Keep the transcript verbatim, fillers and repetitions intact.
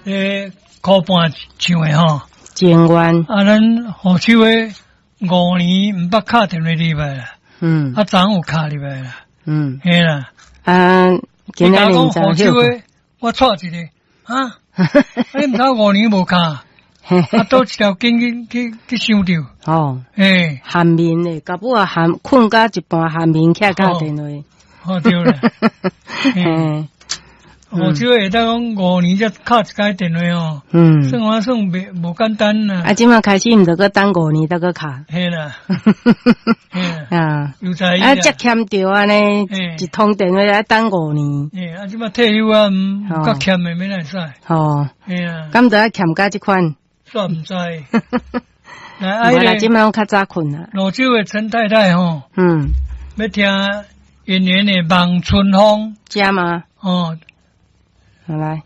咧箍半唱的吼。情願。啊，咱賀秋的五年毋捌敲電話入來啦。嗯。啊，昨昏有敲入來啦。嗯。嘿啦。啊，今仔日講賀秋的，我錯一個，啊，你毋知五年無敲，啊，佗一條筋去去去傷著。哦。嘿。頷眠的，到尾啊頷睏到一半頷眠起來敲電話。哦，對啦。嘿。賀秋會當講五年才敲一擺電話哦。嗯。算我算袂無簡單啦。啊，這馬開始毋著閣等五年才閣敲。嘿啦。啊。有才啊，遮欠著按呢，一通電話愛等五年。嘿，啊，這馬退休啊，毋較欠的免會使。哦。嘿啊。敢著愛欠甲這款？煞毋知。來，無啦，這馬攏較早睏啦。蘆洲的陳太太吼。嗯。欲聽演員的《望春風》。遮嗎？哦。好來。